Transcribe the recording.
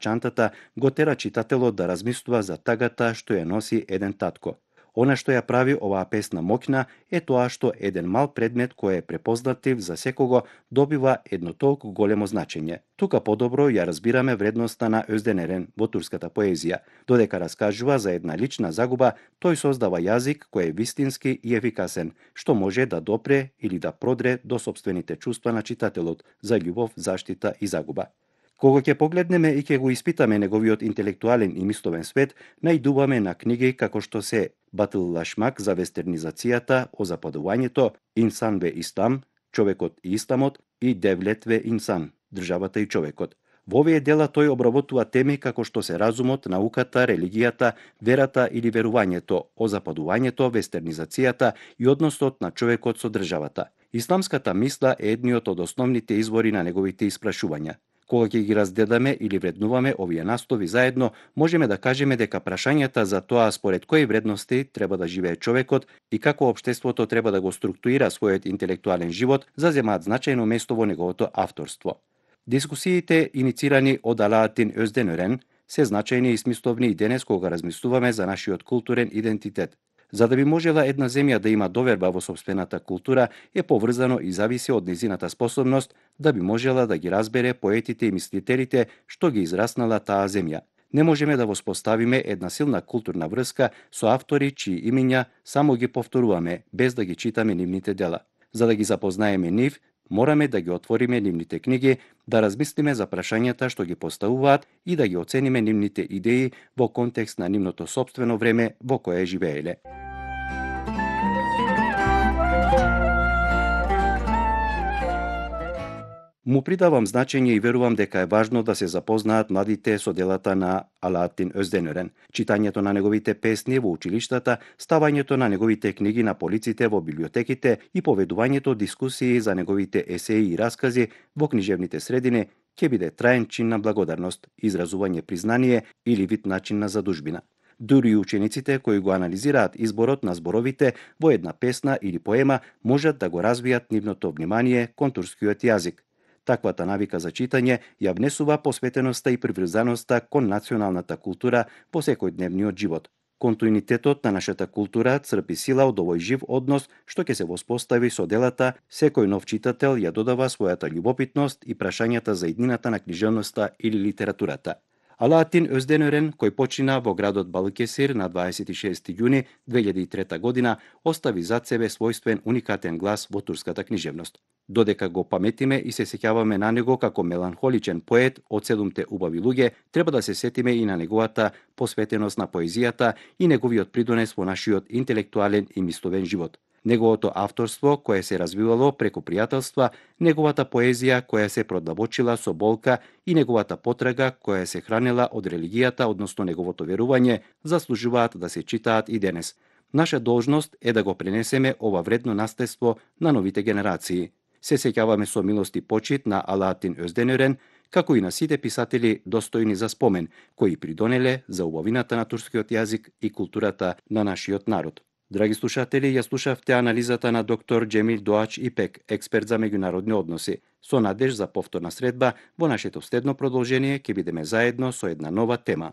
чантата го тера читателот да размислува за тагата што ја носи еден татко. Она што ја прави оваа песна моќна е тоа што еден мал предмет кој е препознатлив за секого добива едно толку големо значење. Тука подобро ја разбираме вредноста на Özden Eren во турската поезија. Додека раскажува за една лична загуба, тој создава јазик кој е вистински и ефикасен, што може да допре или да продре до сопствените чувства на читателот за љубов, заштита и загуба. Кога ќе погледнеме и ќе го испитаме неговиот интелектуален и мисловен свет, најдуваме на книги како што се Батыллашмак за вестернизацијата, озападувањето, Инсан ве Ислам, човекот и исламот и Девлет ве Инсан, државата и човекот. Во овие дела тој обработува теми како што се разумот, науката, религијата, верата или верувањето, озападувањето, вестернизацијата и односот на човекот со државата. Исламската мисла е едниот од основните извори на неговите испрашувања. Кога ќе ги разгледаме или вреднуваме овие наслови заедно, можеме да кажеме дека прашањата за тоа според кои вредности треба да живее човекот и како општеството треба да го структурира својот интелектуален живот заземаат значајно место во неговото авторство. Дискусиите иницирани од Алаатин Özden Ören се значајни и смисловни и денес кога размислуваме за нашиот културен идентитет. За да би можела една земја да има доверба во сопствената култура е поврзано и зависи од незината способност да би можела да ги разбере поетите и мислителите што ги израснала таа земја. Не можеме да воспоставиме една силна културна врска со автори чии имиња само ги повторуваме без да ги читаме нивните дела. За да ги запознаеме нив, мораме да ги отвориме нивните книги, да размислиме за прашањата што ги поставуваат и да ги оцениме нивните идеи во контекст на нивното сопствено време во кое живееле. Му придавам значење и верувам дека е важно да се запознаат младите со делата на Алаатин Özden Ören. Читањето на неговите песни во училиштата, ставањето на неговите книги на полиците во библиотеките и поведувањето дискусии за неговите есеи и раскази во книжевните средини ќе биде траен чин на благодарност, изразување признание или вид начин на задужбина. Дури и учениците кои го анализираат изборот на зборовите во една песна или поема можат да го развијат нивното внимание кон турскиот јазик. Таквата навика за читање ја внесува посветеноста и приврзаноста кон националната култура во секојдневниот живот. Континуитетот на нашата култура црпи сила од овој жив однос што ќе се воспостави со делата, секој нов читател ја додава својата љубопитност и прашањата за иднината на книжевноста или литературата. Алаатин Özden Ören, кој почина во градот Балыкесир на 26 јуни 2003 година, остави зад себе својствен уникатен глас во турската книжевност. Додека го паметиме и се сеќаваме на него како меланхоличен поет од седумте убави луѓе, треба да се сетиме и на неговата посветеност на поезијата и неговиот придонес во нашиот интелектуален и мисловен живот. Неговото авторство кое се развивало преку пријателства, неговата поезија која се продлабочила со болка и неговата потрага која се хранела од религијата, односно неговото верување, заслужуваат да се читаат и денес. Наша должност е да го пренесеме ова вредно наследство на новите генерации. Се сеќаваме со милост и почит на Алаатин Özden Ören, како и на сите писатели достојни за спомен, кои придонеле за убавината на турскиот јазик и културата на нашиот народ. Драги слушатели, ја слушавте анализата на доктор Џемил Доач Ипек, експерт за меѓународни односи. Со надеж за повторна средба, во нашето следно продолжение ќе бидеме заедно со една нова тема.